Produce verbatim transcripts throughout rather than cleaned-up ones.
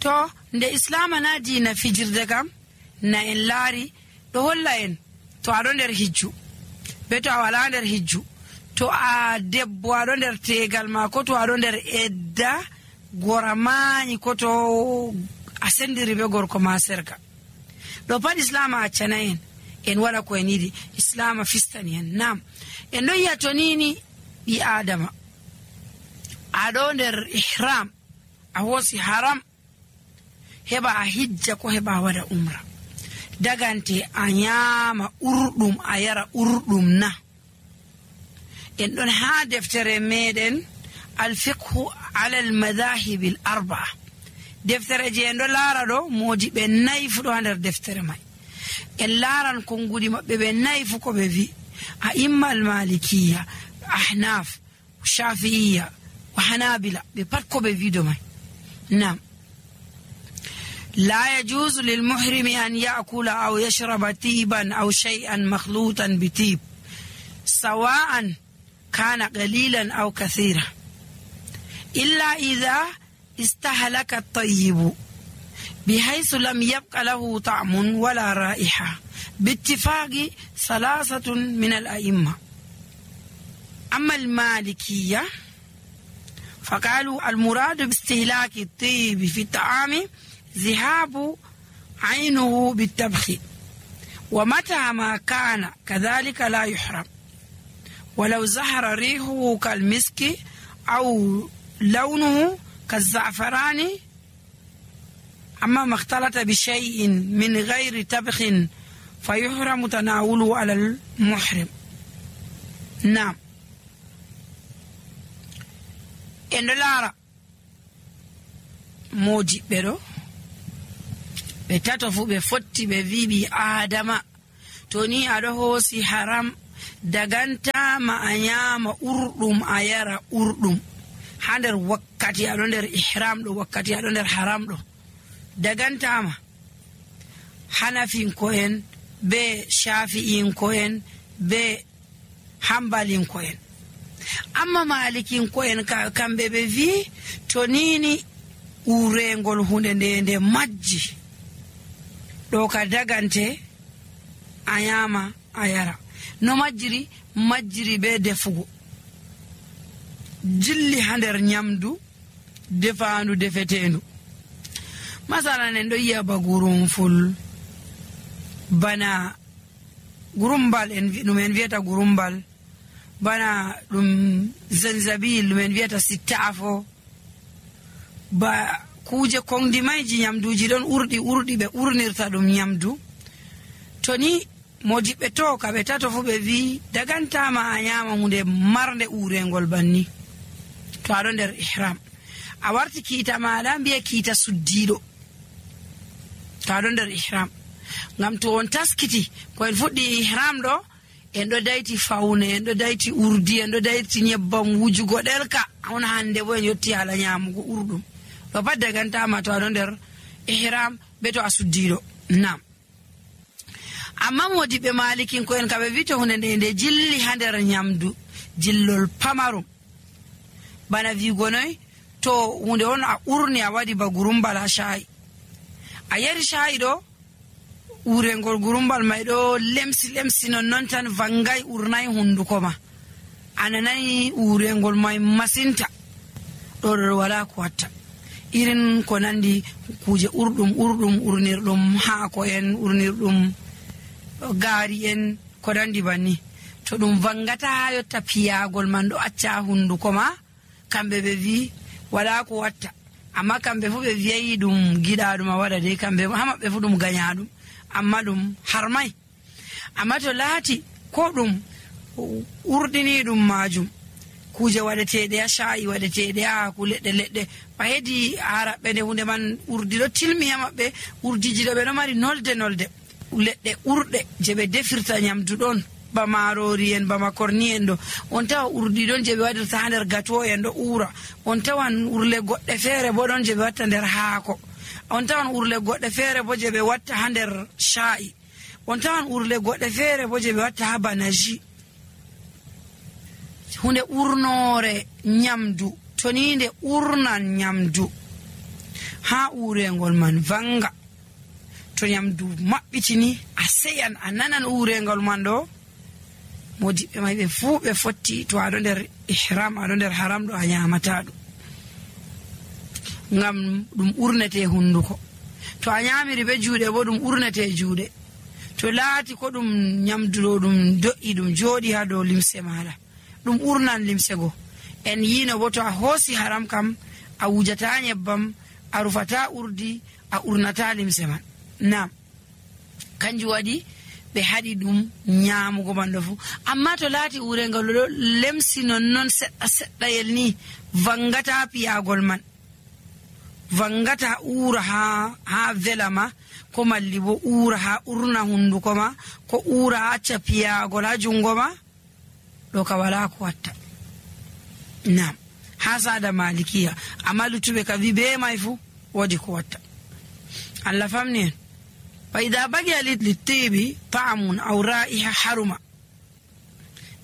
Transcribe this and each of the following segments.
to nde islama na diina fijirde kam na en laari ɗo holla en to aɗo nder hijju be to a wala nder hijju, to a debbo aɗo nder tegal ma ko to aɗo nder edda gora mañi ko to a sendiri be gorko ma serga, ɗo pat islama accana en en waɗa ko en yiɗi. islama fistani en. Nam en ɗon yi'a to nini ɓi adama aɗo nder ihram a hoosi haram heɓa a hijja ko heɓa a waɗa umra, dagante a nyama urɗum a yara urɗum na. en ɗon ha deftere meɗen alfiqhu ala almadahibi l arbaa, deftere je en ɗo laara ɗo moodi ɓe nayi fu ɗo ha nder deftere may. en laaran konngudi maɓɓe ɓe nayi fu ko ɓe wi a imma almalikiya, ahnaf, shafi'iya wa hanabila, ɓe pat ko ɓe wido may. nam لا يجوز للمحرم أن يأكل أو يشرب طيبا أو شيئا مخلوطا بطيب سواء كان قليلا أو كثيرا إلا إذا استهلك الطيب بحيث لم يبق له طعم ولا رائحة باتفاق ثلاثة من الأئمة. أما المالكية فقالوا المراد باستهلاك الطيب في الطعام ذهاب عينه بالتبخ، ومتى ما كان كذلك لا يحرم ولو زهر ريحه كالمسك أو لونه كالزعفران. أما ما اختلط بشيء من غير تبخ فيحرم تناوله على المحرم. نعم إن لارا موجي بيرو ɓe tato fu ɓe fotti ɓe wi ɓi adama to ni aɗo hoosi haram dagantama a nyama urɗum a yara urɗum ha nder wakkati aɗo nder ihram ɗo, wakkati aɗo nder haram ɗo dagantama. hanafinko'en be shafi'inko'en be hambalinko'en. amma malikinko'en kamɓe ɓe wi to nini urengol hunde nde nde majji ɗo ka dagante a nyama a yara. no majjiri majjiri be defugo jilli ha nder nyamdu defandu defetendu. masalan en ɗo yi'a ba gurumful, bana gurumbal en ɗum en wiyata gurumbal, bana ɗum zanzabil ɗum en wiyata sittafo, ba kuje kongdi mayji nyamduji ɗon urɗi urɗi ɓe urnirta ɗum nyamdu. to ni modiɓɓe to ka ɓe tato fu ɓe wi dagantama a nyama hunde marnde urengol banni to aɗo nder ihram. a warti kiita maɗa mbiya kiita suddiɗo to aɗo nder ihram, ngam to on taskiti ko en fuɗɗi ihram ɗo en ɗo dayti fawne, en ɗo dayti urdi, en ɗo dayti nyebbam wujugo ɗelka, on hande bo en yotti hala nyamugo urɗum ɗo pat dagantama to aɗo nder ihram be to a suddiɗo. nam amma modiɓe malikin ko en kaɓe wito hunde nde nde jilli ha nder nyamdu jillol pamarum, bana wigonoy to hunde on a urni a waɗi ba gurumbal ha shayi, a yari shayi ɗo urengol gurumbal may ɗo lemsi lemsi non non tan vangay urnay hunduko ma, ananayi urengol may masinta, ɗo ɗo wala ko watta. irin ko nandi kuje urɗum urɗum urnirɗum haako en, urnirɗum gaari en, ko nandi banni, to ɗum vangata ha yotta piyagol man ɗo acca hunduko ma, kamɓe ɓe wi wala ko watta. amma kamɓe fu ɓe wiyayi ɗum giɗaɗum a waɗa de, kamɓe ha maɓɓe fu ɗum gañaɗum, amma ɗum harmay. amma to laati ko ɗum urɗini ɗum majum kuje waɗeteɗe ha shayi, waɗeteɗe ha ku leɗɗe leɗɗe, ba hedi araɓɓe nde hunde man urdi ɗo tilmi ha maɓɓe, urdiji ɗo ɓe ɗo mari nolde nolde, leɗɗe urɗe je ɓe defirta nyamdu ɗon, ba marori en, ba makorni en ɗo, on tawa urdi ɗon je ɓe waɗirta ha nder gato en ɗo ura, on tawan urle goɗɗe feere bo ɗon je ɓe watta nder haako, on tawan urle goɗɗe feere bo je ɓe watta ha nder sha'i, on tawan urle goɗɗe feere bo je ɓe watta ha banaji. hunde urnore nyamdu to ni nde urnan nyamdu ha urengol man vanga. To nyamdu mabbitini a seyan a nanan urengol man do modiɓɓe may ɓe fuu ɓe fotti to aɗo nder ihram aɗo nder haram ɗo a nyamata ɗum ngam ɗum urnete hunduko. To a nyamiri be juuɗe bo ɗum urnete juuɗe. To laati ko ɗum nyamduɗo ɗum do'i ɗum jooɗi ha dow limse maɗa ɗum urnan limse go. En yino bo to a hoosi haram kam a wujata nyebbam a rufata urdi a urnata limse man. Nam kanjum waɗi ɓe haɗi ɗum nyamugo man ɗo fu. Amma to laati urengol ɗo lemsi nonnon seɗɗa seɗɗayel ni vangata piyagol man, vangata ura ha ha vela ma, ko malli bo ura ha urna hunduko ma, ko ura ha acca piyagol ha jungo ma, ɗo ka wala ko watta. Nam ha sada malikiya, amma luttuɓe ka wi be may fu wodi ko watta. Allah famni en. فإذا بقي للطيب طعم أو رائحة حرمة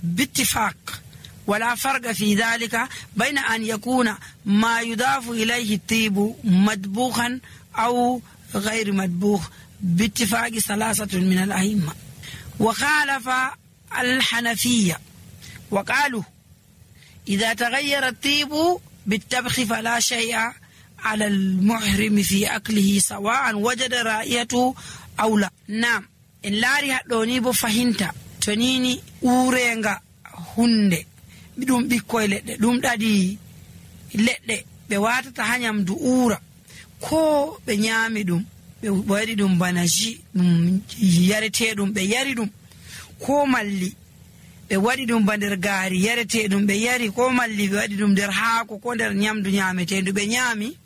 باتفاق، ولا فرق في ذلك بين أن يكون ما يضاف إليه الطيب مدبوخا أو غير مدبوخ باتفاق ثلاثة من الأئمة. وخالف الحنفية وقالوا إذا تغير الطيب بالطبخ فلا شيء على المحرم في أكله سواء وجد رائحته أو لا. نعم إن لاري هدوني بو فهمتا تنيني أورينغا هنده بدون بيكوي لده دوم دادي لده بواتة تهانيام دو أورا كو بنيامي دوم بوادي دوم باناجي دوم يارته دوم بياري دوم كو مالي بوادي دوم باندرغاري يارته دوم بياري كو مالي بوادي دوم درهاكو كو در نيام دو نيامته دو بنيامي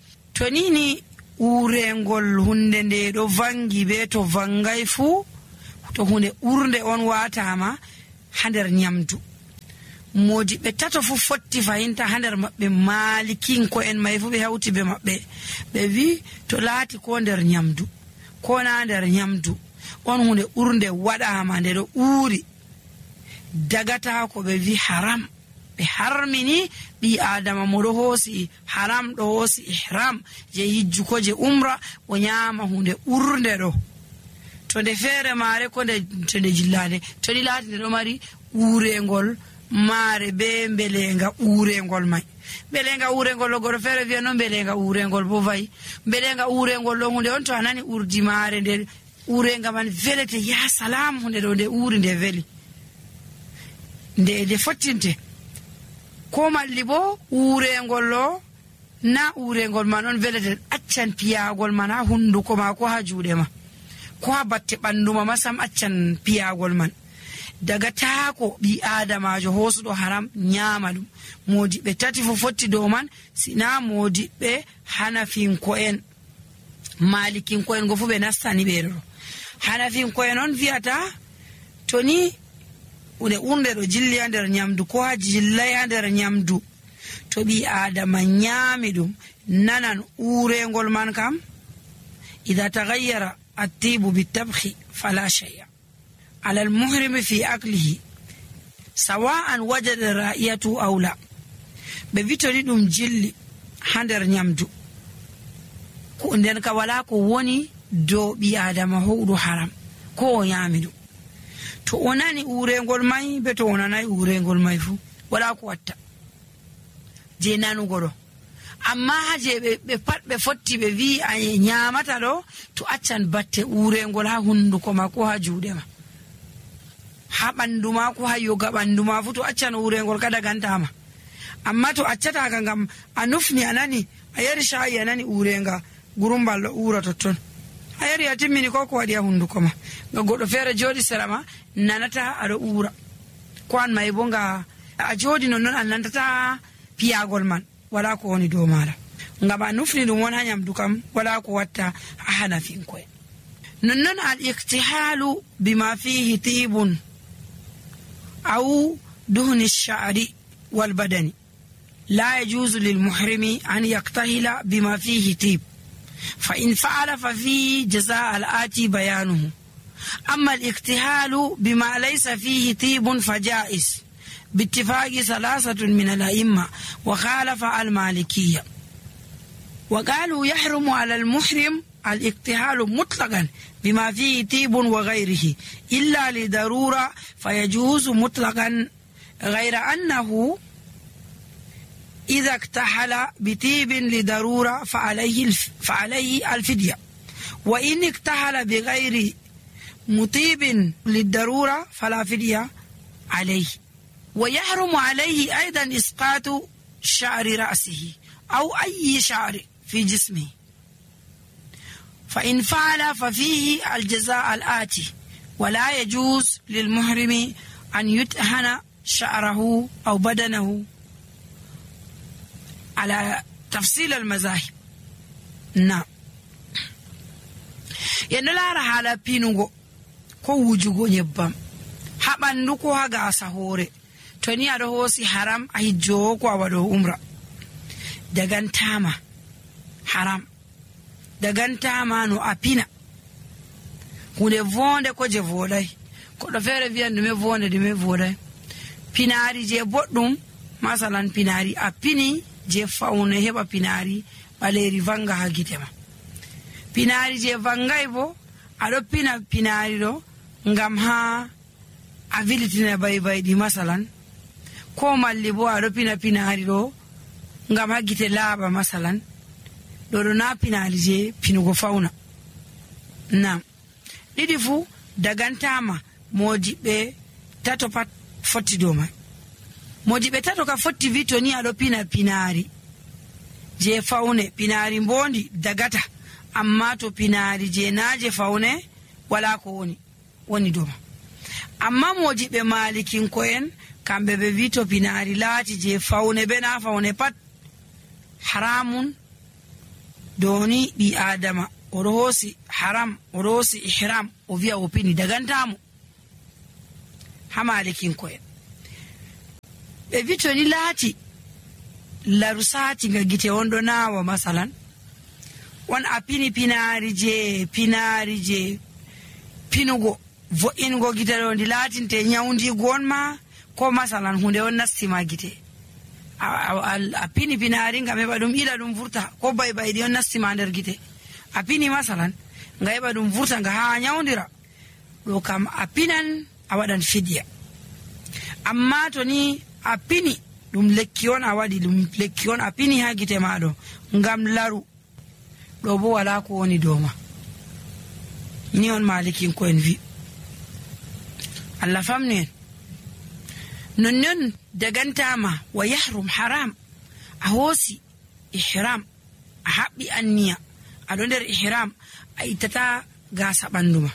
tonini urengol hunde nde do vangi be to vangai fu to hunde urde on watama hander nyamdu. Modi be tato fu fotti fahinta hander mabbe malikin ko en may fu be hawti be mabbe be wi to laati ko nder nyamdu ko na nder nyamdu on hunde urde wadama nde do uri dagata ko be wi haram. Be harmini bi adama modo hosi haram do hosi ihram je hijju ko je umra o nyama hunde urde do to de fere mare ko de to de jillade to di lati do mari urengol mare be belenga urengol mai belenga urengol go fere vi non belenga urengol bo vai belenga urengol lo hunde on to anani urdi mare de urenga man velete ya salam hunde do de uri de veli de de fottinte ko malli bo urengol lo na urengol man on velete accan piyagol man ha hunduko ma ko ha juude ma ko ha batte bandu ma masam accan piyagol man daga taako bi adamajo hosudo haram nyama dum. Modi be tati fo fotti do man sina modi be hanafin ko en malikin ko en go fu be nastani be do. Hanafin ko en on viata toni une unde do jilli nder nyamdu ko ha jilla nder nyamdu to bi adama nyami dum nanan urengol man kam idha taghayyara at-tibu bit-tabkhi fala shay'a ala al-muhrim fi aklihi sawa'an wajada ra'iyatu aw la. be vitoni dum jilli ha nder nyamdu ko nden ka wala ko woni do bi adama howdu haram ko nyami dum. To onani urengol mai be to onanai urengol mai fu wala ko watta je nanu godo. Amma haje be be pat be fotti be vi ay nyamata do to accan batte urengol ha hunduko ma ko ha juude ma ha bandu ma ko ha yoga bandu ma fu to accan urengol kada gantama. Amma to accata ka ngam anufni anani ayari shayi anani urenga gurumbal do ura totton ayari atimini ko ko wadi ha hunduko ma ga godo fere jodi serama nanata ado ura ko an may bonga a jodi non non annanta piyagol man wala ko woni do mala ngam anufni dum won hanyam dukam wala ko watta hanafin ko non non al iktihalu bima fihi tibun aw duhni ash-sha'ri wal badani la yajuzu lil muhrimi an yaktahila bima fihi tib فإن فعل ففيه جزاء الآتي بيانه. أما الاكتهال بما ليس فيه طيب فجائز باتفاق ثلاثة من الأئمة وخالف المالكية. وقالوا يحرم على المحرم الاكتحال مطلقا بما فيه طيب وغيره إلا لضرورة فيجوز مطلقا، غير أنه إذا اكتحل بطيب لضرورة فعليه فعليه الفدية، وإن اكتحل بغير مطيب للضرورة فلا فدية عليه. ويحرم عليه أيضا إسقاط شعر رأسه أو أي شعر في جسمه، فإن فعل ففيه الجزاء الآتي: ولا يجوز للمحرم أن يدهن شعره أو بدنه على تفصيل المذاهب. نعم. ينلا حالا بينوغو ko wujugo nyebbam ha bandu ko ha gasa hore to ni ado hosi haram a hijjo ko awado umra dagantama haram dagantama no apina hunde vonde ko je vodai ko do fere viande me vonde de me vodai pinari je boddum masalan pinari apini je faune heba pinari baleri vanga ha gitema pinari je vangai bo ado pina pinari do ngam ha abilitina bay bay di masalan ko malli bo ado pina pinari do ngam ha gite laaba masalan do do na pinari je pinugo fauna. Nam didi fu dagantama moji be tato pat fotti do mai moji be tato ka fotti vito ni ado pina pinari je faune pinari mbondi dagata, amma to pinari je naje faune wala ko woni woni doma. Amma moji be malikin koen kambe be vito pinari lati je faune be na faune pat haramun doni bi adama orosi haram orosi ihram o via opini dagantamu ha malikin koen be vito ni lati larusati ga gite wondo nawa masalan wan apini pinari je pinari je pinugo vo ingo gite do ndi latinte nyawndi gonma ko masalan hunde on nastima gite apini pinari ngam heba dum ila dum vurta ko bay bay di on nastima der gite apini masalan nga heba dum vurta nga ha nyawndira do kam apinan awadan fidya. Amma to ni apini dum lekki on awadi dum lekki on apini ha gite mado ngam laru do bo wala ko woni doma ni on malikin ko en vi Allah famne non non dagantama wa yahrum haram ahosi ihram habbi anniya ado der ihram ay tata gasa banduma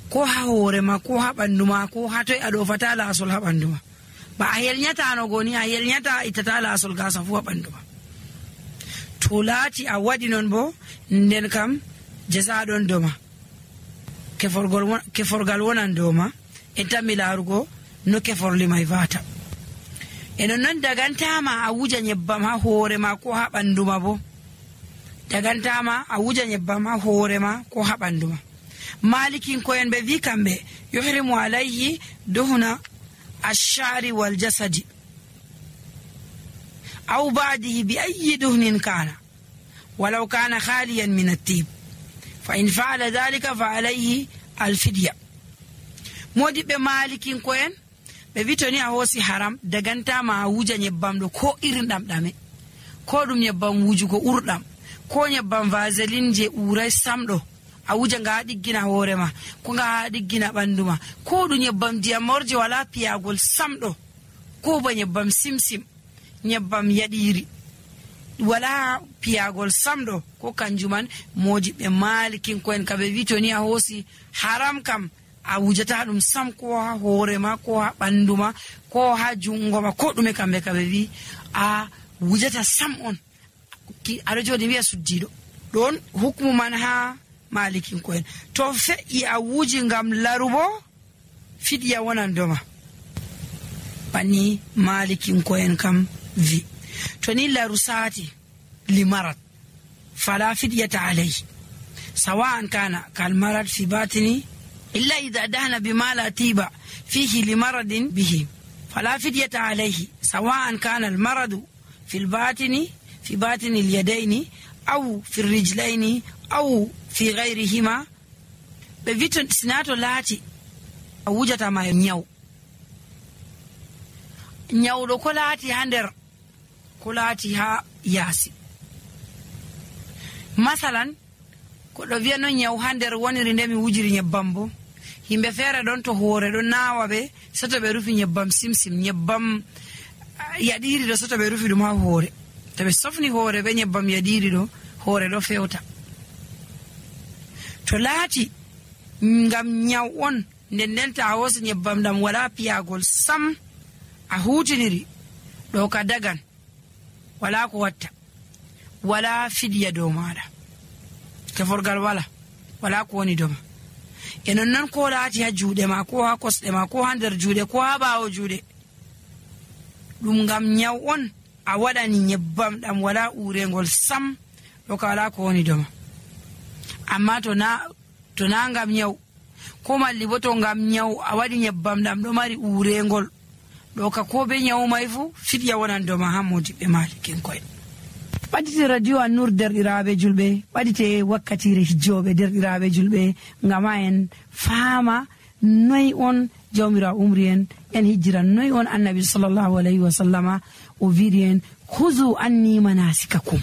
ko ha hore ma ko ha banduma ko ha toy ado fatala asul ha banduma ba ayel nyata no goni ayel nyata itatala asul gasa fu banduma tulati a wadi non bo nden kam jeza don doma keforgol keforgal wonan doma entami larugo no keforli mai vata eno non dagantama a wuja nyebbam ha hore ma ko ha banduma bo dagantama a wuja nyebbam ha hore ma ko ha banduma. Malikin ko en be vi kambe yuhrimu alayhi duhuna ash-sha'ri wal jasadi أو بعده بأي دهن كان ولو كان خاليا من الطيب، فإن فعل ذلك فعليه الفدية. مودي بمالكين كوين بفيتوني أهوسي حرام دغانتا ما وجا نيبام دو كو إرندام دامي كو دوم نيبام وجو كو أردام كو نيبام فازلين جي أوراي سامدو awuja nga diggina horema ko nga diggina banduma ko du nyebbam diamorje wala piyagol samdo ko ba nyebbam simsim nyebbam yadiri wala piyagol samdo ko kanjuman moji be malikin ko en kabe vitoni a hosi haram kam awujata dum sam ko ha horema ko ha banduma ko ha jungoma ko dume kambe kabe vi a wujata sam on ki arajo de wiya suddido don hukmu man ha malikin koen to fe i awuji ngam larubo fidya wonan doma bani malikin koen kam vi to ni larusati limarat fala fidyata alayhi sawa'an kana kal marad fi batini illa idha dahna bima la tiba fihi limaradin bihi fala fidyata alayhi sawa'an kana al maradu fi al batini fi batini al-yadayni aw fi rijlayni aw fi ghayrihima be viton sinato laati a wujata ma nyaw nyawdo ko laati ha nder ko laati ha yaasi masalan ko do wi'a non nyaw ha nder woniri nde mi wujiri nyebbam bo himbe fere don to hoore don naawa be soto be rufi nyebbam simsim nyebbam yadiri do soto be rufi dum ha hoore to be sofni hoore be nyebbam yadiri do hoore do fewta to laati ngam nyaw on nden nden ta a hosi nyebbam dam wala piyagol sam a hutiniri do ka dagan wala ko watta wala fidya do maada teforgal wala wala ko woni doma enon nan ko laati ha juude ma ko ha kosde ma ko ha nder juude ko ha baawo juude dum ngam nyaw on a wadani nyebbam dam wala urengol sam do ka wala ko woni doma amma to na to na ngam nyaw ko malli bo to ngam nyaw a wadi nyebbam dam do mari urengol do ka ko be nyaw mai fu fidya wonan doma ha modi be malikin koy ɓadite radio An-Nur derɗiraɓe julɓe ɓadite wakkatire hijjoɓe derɗiraɓe julɓe ngama en faama noy on jawmira umri en en hijjira noy on annabi sallallahu alayhi wa sallama o wiiri en huzu anni manasikakum